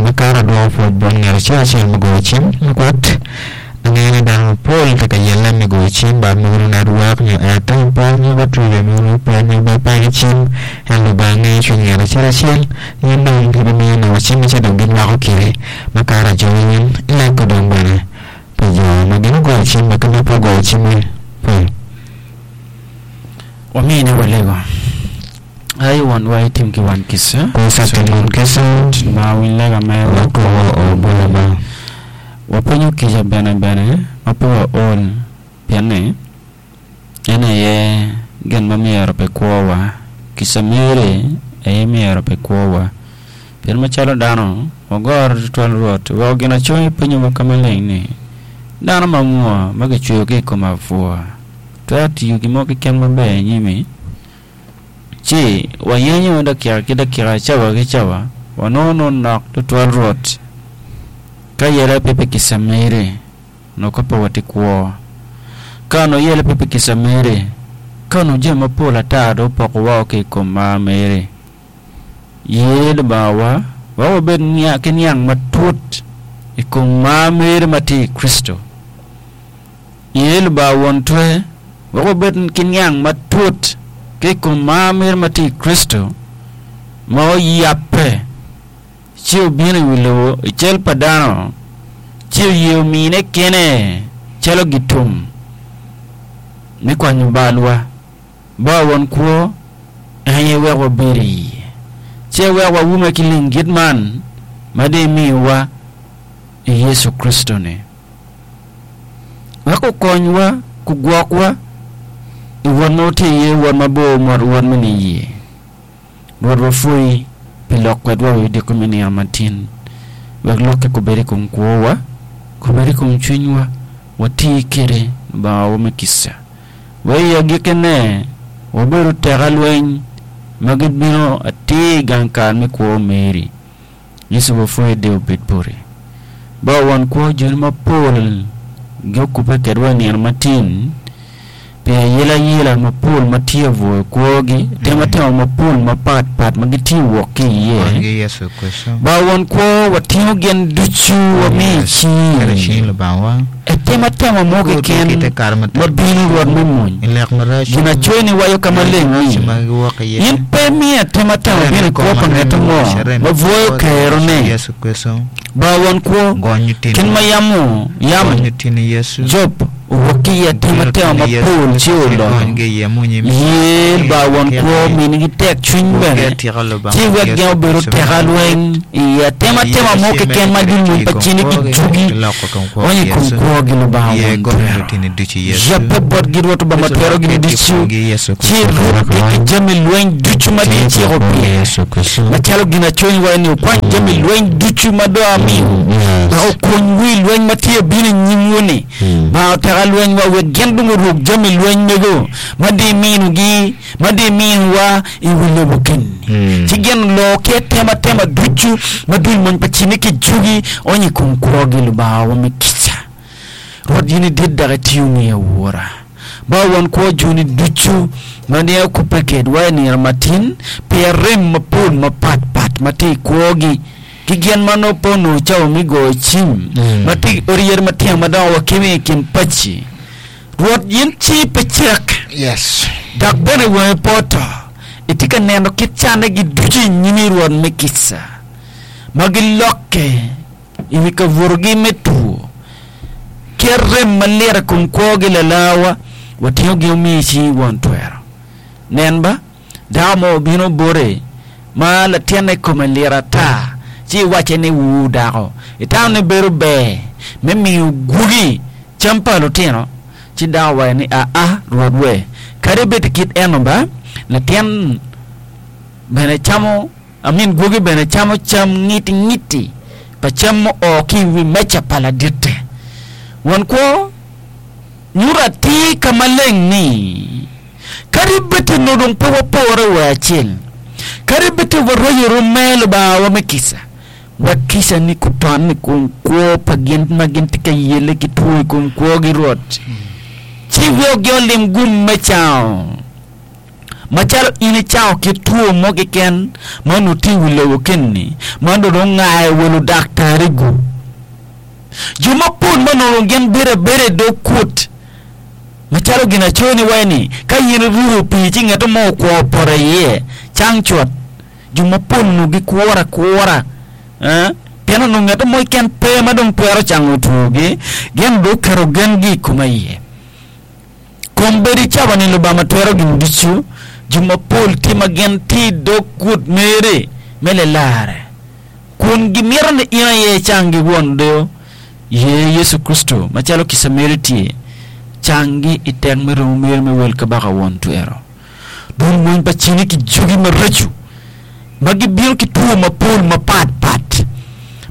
Makato adwoko pwoc bot ngat acel acel me goyo cim lakwat. Angeyo ni dano mapol tye ka yelle me goyo cim ba mogo nongo network nyo airtime pe nyo battery mogo nongo pe nyo ba pe ki cim ento Lubanga ngeyo cwiny ngat acel acel in dong ibimiyo nongo cimmi ci dong ginywako kidi makato ajogi in ilego dong bene pi jo ma gin ogoyo cim wa ki ma pe ogoyo cimme pe. Wamine walego. Ai Wonwa itim ki wan kica. Kica tim wan kica. Ma winy lega merwa. Watuko o bolo ma. Wapenyo kica bene bene ma pe waol pien ni en aye gin ma myero pi kwowa. Kica meri aye myero pi kwowa. Pien macalo dano, wagoro tutwal Rwot weko ginacoya penyowa ka maleng ni, Dano mamwa ma kicweyo ki i kom apwa twero tiyo gin mo keken maber i nyimi? Ci wayenyo dakika ki dakika, cawa ki cawa, wanongo nongo nok tutwal Rwot ka yele pe pi kica meri nongo ka pe watye kwo. Ka onongo yele pe pi kica meri, ka onongo jami mapol ata dong opoko woko ki i kom mar meri. Ye Lubangawa, wek wabed ki niang matut i kom mar meri ma tye i Kricito. Ye Lubanga Won Twer, wek wabed ki niang matut ki i kom mar meri ma tye i Kricito, ma oyabbe ci obino i wi lobo i cal pa dano, ci oye omine kene calo gitum me kwanyo balwa. Ba won kwo en aye wek wabed i iye, ce wek wawume ki ling git man ma dong imiyowa i Yecu Kricito-ni, wek okonywa, kugwokwa i wot ma watye iye, wot mabor, mot wot me niye. Rwot wapwoyi pi lok kwedwa wa i odiko me nino matin. Wek lokke gubed i kom kwowa, gubed i kom cwinywa, wati kwede Lubangawa me kica. Wek i agikkine wabed oteka lweny ma gibino atir i gang kal me kwo meri. Yecu wapwoyi deyo obed boti. Ba won kwo joni mapol giokubbe kedwa i nino matin pi ayelayela mapol ma tye obwoyo kwogi, atematema mapol mapat pat ma gitye wok ki iye. Konygi Yecu Kricito. Ba won kwo watingo gin ducu wamiyo i Yes. Keto i cingi. cing Lubangawa. Atematema mo Gudwoki keken i te kare ma matek bino Rwot me mony. i lek maraco. Ginacoya-ni waco ka maleng Maraco ni, ma giwok iye. In pe imiyo atematema Arem bino i i kwo kom pa arem ngat mo marac, arem ma i bwoyo kwo, kerone. Yecu Kricito. Ba won kwo, Gonyo kit tini. ma yamo yam Gonyo tini Yecu. Job owok ki i atematema mapol ci oloyo. Ye ba won kwo minigi tek cwiny bene, ci wek gin obed oteka lweny i atematema mo keken ma gilweny pa cine ki jugi onyo i kom kwogi Lubanga won twero. Yabbe botgi Rwot Lubanga ma twero gin ducu, ci irukgi ki jami lweny ducu ma dong iciko pire. Macalo ginacoya waco ni, Wukwany jami lweny ducu ma dong amiyowu, wek okonywu i lweny ma tye bino i nyimwu-ni. Lubanga oteka lwenywa wek gin dong oruk jami lweny mego ma dong iminogi, ma dong iminowa i wi lobo keni. Ci gin oloo ki atematema ducu ma dul mony pa cine ki jugi onyo i kom kwogi. Lubangawa me kica, Rwot in idit dok itiyo nge awora. Ba won kwo joni ducu ma ne okubbe kedwa i nino matin pi arem mapol mapatpat ma tye i kwogi. Ki gin ma nongo pe onongo cawa me goyo cim ma tye ki odi yadi matino madongo wa kemi i kin paci. Rwot in ci pe cek, Yes. dok bene wangi pe oto. Itye ka neno kit cannegi ducu i nyimi, Rwot me kica, ma gilokke i wi kabutogi me two, ki arem malit i kom kwogi lalawa, watingogi omiyi i cingi won twero. Nen ba, Dako mo obino bote ma latinne kome lit ata, ci iwacce ni, Wuu dako, itamo ni bedo ber me miyo gwogi cam pa lutino? Ci dako owaco ni, Aa, Rwot we, kadi bed kit eno ba, latin bene camo, amin gwogi bene camo cam ngitingiti pa cam muo ki i wi meja pa laditte. Won kwo nyuto atir ka maleng ni, Kadi bed ni onongo dong pe wapore wa acel, kadi bed ni warwenyo rom me Lubangawa me kica, wek kica-ni guton i kom kwo pa gin ma gin tye ka yelle ki two i kom kwogi, Rwot, ci wek gin olim gum me cango. Macalo in icango kit two mo keken ma onongo tye i wi lobo keni, ma onongo dong ongayo wa ludaktari-gu. Jo mapol ma onongo gin bedo abeda i dog kut, macalo ginacoya-ni waco ni, ka in iruko pii ci ngat mo okwo poto iye, cang cut. Jo mapol onongo gikuro akura, pien onongo ngat mo keken pe ma dong twero cango twogi, gin dong guketo gengi i kome iye. Kombeddi cawa-ni Lubanga twero gin ducu, jo mapol tye ma gin tye i dog kut meri me lilarre, kun gimito ni in aye icanggi Won deyo. Ye Yecu Kricito macalo kica meri tye, canggi i tek me romo meri me wel Kabaka Won Twero. Dul mony pa cini ki jogi maraco ma gibino ki two mapol mapat pat.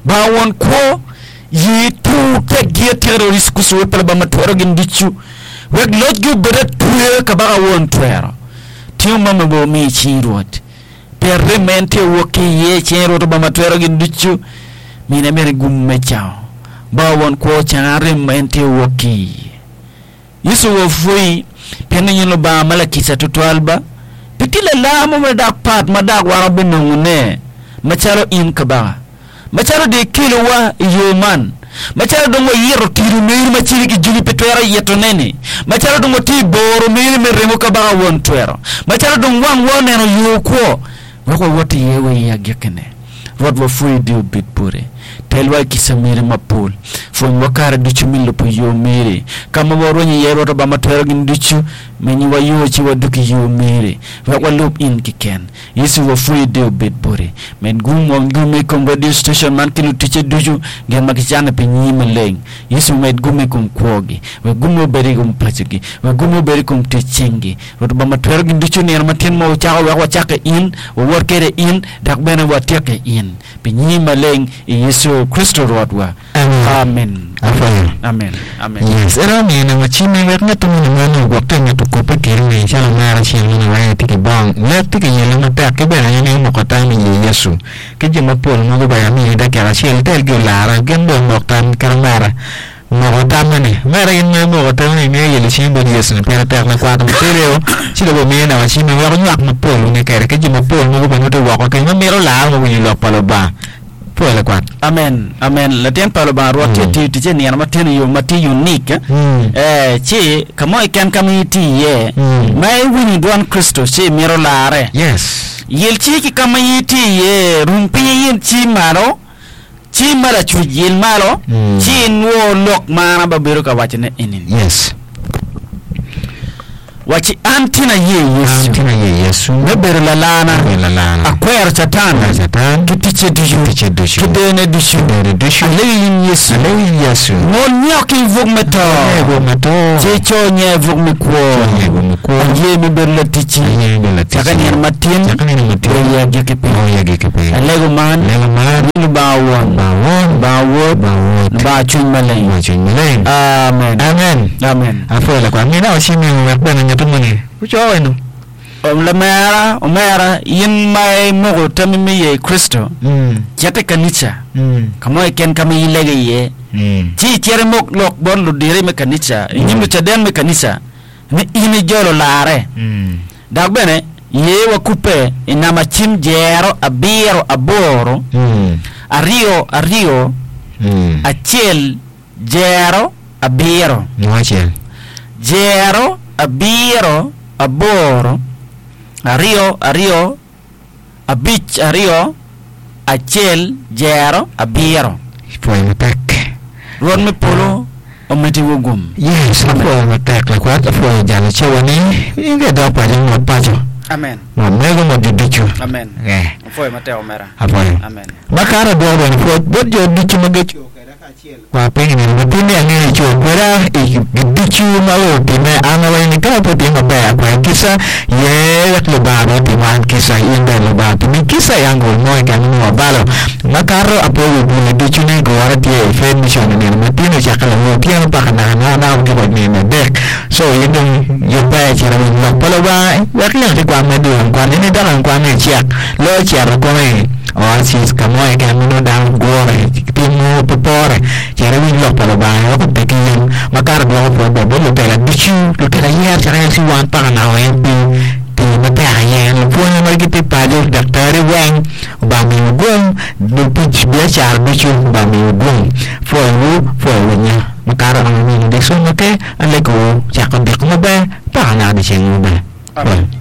Banga won kwo, ye tur tekgi atika dok Yecu Kricito Wod pa Lubanga ma twero gin ducu, wek locgi obed atweya Kabaka Won Twero. Tingo ma mego omiyo i cing Rwot, pien rem ma en tye wok ki iye i cing Rwot Lubanga ma twero gin ducu, mine bene gum me cango. Banga won kwo canga rem ma en tye wok ki iye. Yecu wapwoyi pien ni in Lubanga ma lakica twatwal ba. Pe tye lalar mo ma dok pat ma dok wan wabinongone macalo in Kabaka. Macalo dong ikelowa i yo man, macalo dong wayito tiro meri ma cili ki jubi pe twero yitone-ni, macalo dong watye i boro meri me remo Kabaka Won Twero, macalo dong wangwa oneno yo kwo, wek wawot iye wa i agikkine. Rwot wapwoyi di obed boti. Telwa i kica meri mapol. Pwonywa kare ducu me lubo yo meri. Ka ma warwenyo iye Rwot Lubanga ma twero gin ducu, miniwa yo ci wadug i yo meri, wek walub in keken. Yecu wapwoyi di obed boti. Med gum wa gum i kom radio station man ki luticce ducu, gin ma gicanne pi nyingi maleng. Yecu med gum i kom kwogi. Wek gummi obed i kom pacogi. Wek gummi obed i kom tic cingi. Rwot Lubanga ma twero gin ducu nino ma tin ma wucako wek wacakke in, wawot kwede in, dok bene watyeke in. Pi nyingi maleng, i Yecu Kricito Rwotwa. Amen. Amen. Amen. Amen. Yes, en omiyo nongo cimme wek ngat moni ma onongo gwokke ngat okobbe kede ni calo omera acel moni weng tye ki bong lek tye ka yelle matek ki bene en aye omoko tam i ye Yecu ki jo mapol mogo bene amiyo dakika acel telgi olara gin bene omok tam kit omera Moko tamme ni, Omera in ma imoko tamme ni imiyo yelo cingi bot Yecu ni pire tek lakwat oteleo ci dong omiyo naka cimme wek onywak mapol wunge kede ki jo mapol mogo bene ote woko keny ma mito laro me winyo lok pa Lubanga. Pwoyo lakwat. Amen, amen. Latin pa Lubanga Rwot tye tiyo ticce i nino ma tyen i yo ma tye unique. Eh, ci ka mo keken ka ma itye iye, ma iwinyo dwan Kricito ci imito larre. Yes. Yel cingi ki ka ma in itye iye, rum piny iyel cingi malo. Ci ma lacuc yel malo, ci inwo lok ma an ababedo ka wacone eni-ni. Yes. Wacci, An tin aye Yecu. An tin aye Yecu. Me bedo lalana. Me bedo lalana. Akwero Catan. Akwero Catan. Ki ticce ducu. Ki ticce ducu. Ki deyone ducu. Ki deyone ducu. Alegi in Yecu. Alegi in Yecu. Ngol nyok ki i buk me to. Ngol nyok i buk me to. Ci ico nya i buk me kwo. Ico nya i buk me kwo. Aye me bedo laticci. Aye me bedo laticci. Caka nino matin. Caka nino matin. Wa i agikki piny. Wa i agikki piny. Alego man. Alego man. Ni Lubanga Won. Lubanga Won. Lubanga Wod. Lubanga Wod. Lubanga Cwiny Maleng. Lubanga Cwiny Maleng. Amen. Amen. Amen. Apwoyo lakwar. Mina ocimi wek bene ngat moni oco eno. Lamera, omera, in ma imoko tammi me ye i Kricito, cit i kanica ka mo keken ka ma in ilego iye, ci icit imok lok bot ludito me kanica, i nyim lucaden me kanica, ni in ijolo larre. Dok bene ye wakubbe i namba cim jero abiro aboro aryo aryo acel jero abiro. Nwo acel. Jero abiro aboro aryo aryo abic aryo acel jero abiro. Pwoyo matek. Rwot me polo omeddiwu gum. Yes, apwoyo matek lakwat, apwoyo jalo cawa ni in ka idok paco ngut paco. Amen. Ngut mego ngut jo ducu. Amen. Eh. Apwoyo matek omera. Apwoyo. Amen. Makato adwoko bene pwoc bot jo ducu ma gico kweda kacel kwa piny i nino matin ni angeyo ico kweda i gin ducu ma wek otime. An awaco ni ka pe otime maber akwayo kica ye wek Lubanga bene otim an kica in bene Lubanga otimi kica i angle mo keken ma nongo wabalo. Makato apo wi bwunye ducu ni gure tye i Faith Mission i nino matin ocakke lawor otyeno paka naka naka naka wugiko i nino me adek. So in dong yubbe cito iwiny lok pa Lubanga wek ineno ci kwan me dul kwan in idok i kwan me icek loyo cito kome i oasis ka mo keken ma nongo dano gure tim mo pe pore cit iwiny lok pa Lubanga wek oteggi in makato dwoko pwod bot lutela ducu lutela yer calo en ci wan paka naka wa en pi. Apwoyo matek aye lupwonye ma gitye paco, daktari weng Lubanga omiyo gum, lutic biacara ducu Lubanga omiyo gum. Apwoyowu, apwoyo winya makato an amini dye cuma ke alegowu cako diko maber paka naka dyeceng maber. Apwoyo.